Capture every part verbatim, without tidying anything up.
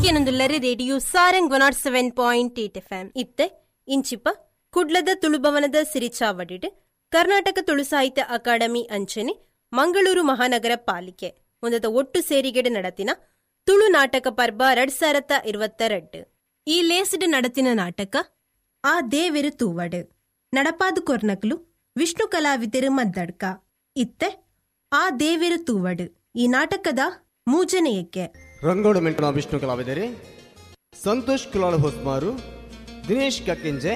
ನಿಕುಲ್ಕೇನೊಂದುಲ್ಲರೆ radio Sarang one nought seven point eight F M. ಇತ್ತೆ ಇಂಚಿಪ ಕುಡ್ಲದ ತುಳುಭವನದ ಸಿರಿಚಾವಡಿಡ್ ಕರ್ನಾಟಕ ತುಳು ಸಾಹಿತ್ಯ ಅಕಾಡೆಮಿ ಅಂಚನೆ ಮಂಗಳೂರು ಮಹಾನಗರ ಪಾಲಿಕೆ ಒಂದದ ಒಟ್ಟು ಸೇರಿಗೆಡೆ ನಡತಿನ ತುಳು ನಾಟಕ ಪರ್ಬ ರಡ್ ಸಾರತ್ತ ಇರುವತ್ತೆರಡು. ಈ ಲೇಸ್ಡ್ ನಡತಿನ ನಾಟಕ ಆ ದೇವೆರು ತೂವಡು ನಡಪಾದು ಕೊರ್ನಕ್ಲು ವಿಷ್ಣು ಕಲಾವಿದರು ಮದ್ದಡ್ಕ. ಇತ್ತೆ ಆ ದೇವೆರು ತೂವಡು ಈ ನಾಟಕದ ಮೂಜನೆಯಕ್ಕೆ ರಂಗೋಡು ಮೆಂಟನ ವಿಷ್ಣು ಕಲಾವಿದರೆ ಸಂತೋಷ್ ಕುಲಾಲ್ ಹೊಸ್ಮಾರು, ದಿನೇಶ್ ಕಕ್ಕಿಂಜೆ,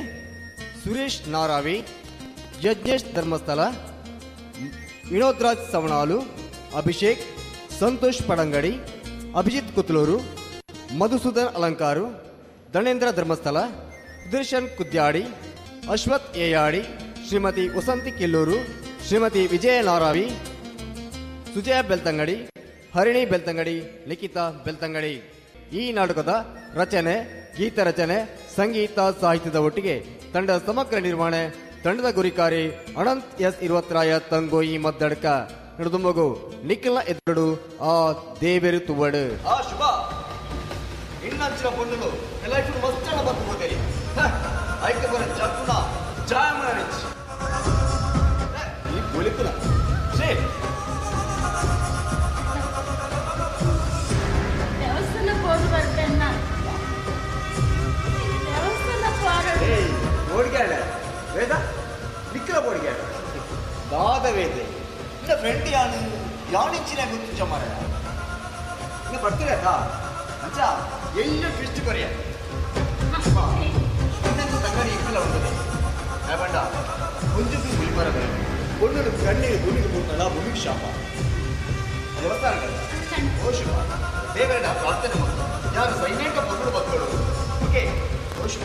ಸುರೇಶ್ ನಾರಾವಿ, ಯಜ್ಞೇಶ್ ಧರ್ಮಸ್ಥಳ, ವಿನೋದ್ ರಾಜ್ ಸವಣಾಲು, ಅಭಿಷೇಕ್, ಸಂತೋಷ್ ಪಡಂಗಡಿ, ಅಭಿಜಿತ್ ಕುತ್ಲೂರು, ಮಧುಸೂದನ್ ಅಲಂಕಾರು, ಧನೇಂದ್ರ ಧರ್ಮಸ್ಥಳ, ಸುದರ್ಶನ್ ಕುದ್ಯಾಡಿ, ಅಶ್ವಥ್ ಏಯಾಡಿ, ಶ್ರೀಮತಿ ವಸಂತಿ ಕಿಲ್ಲೂರು, ಶ್ರೀಮತಿ ವಿಜಯ ನಾರಾವಿ, ಸುಜಯ ಬೆಲ್ತಂಗಡಿ, ಹರಿಣಿ ಬೆಲ್ತಂಗಡಿ, ಲಿಖಿತಾ ಬೆಲ್ತಂಗಡಿ. ಈ ನಾಟಕದ ರಚನೆ, ಗೀತ ರಚನೆ, ಸಂಗೀತ ಸಾಹಿತ್ಯದ ಒಟ್ಟಿಗೆ ತಂಡದ ಸಮಗ್ರ ನಿರ್ವಹಣೆ ತಂಡದ ಗುರಿಕಾರಿ ಅನಂತ್ ಎಸ್ ಇರುವತ್ರಾಯ ತಂಗೋಯಿ ಮದ್ದಡ್ಕ. ನಡೆದುಮಗು ನಿಖಿಲ ಎದುರು ಆ ದೇವೆರು ತುವಡು. ಆ ಶುಭ ಇನ್ನಂಚಿನ ಪೊಣ್ಣುಲು ಲೈಫ್ ಮಸ್ತಾನ ಬತ್ತು ಹೋಗಲಿ ಐಕೆ ಬರ ಜಕ್ಕುನ ಜಾಯಮನ ಈ ಬೊಲಿಕುಲ ಛೇ ದೇವಸ್ಥಾನ ಹೋಗಿ ಬರ್ತೇನೆ ನಾನು. ದೇವಸ್ಥಾನ ಹೋಗೋಣ. ಏಯ್ ಬೋಡಿಗಾಡ ವೇದ ನಿಖಿಲ ಬೋಡಿಗಾಡ ದಾದ ವೇದ ಇನ್ನ ಫ್ರೆಂಡ್ ಯಾನು ಯಾನಿಂಚಿನ ಗೊತ್ತಿಂಚ ಮಾರ ಇನ್ನ ಬರ್ತೀರಾ ಅಂಚ ಎಲ್ಲ ಟ್ವಿಸ್ಟ್ ಕೊರಿಯ ಇನ್ನೊಂದು ತಂಗಡಿ ಇಕ್ಕಲ ಉಂಟದೆ ಬಂಡ ಒಂಜುಕು ಗುಲಿಮರ ಒಣ್ಣು ಕಣ್ಣೀರು ಭೂಮಿಗೆ ಬೂರ್ನಲ್ಲ ಭೂಮಿಗೆ ಶಾಪ ದೇವಸ್ಥಾನ ಓ ಶುಭ ದೇವರನ್ನ ಪ್ರಾರ್ಥನೆ ಮಾಡು ಯಾರು ಸೈನ್ಯಕ ಮಗಳು ಬಕ್ಕಳು. ಓಕೆ ಓ ಶುಭ.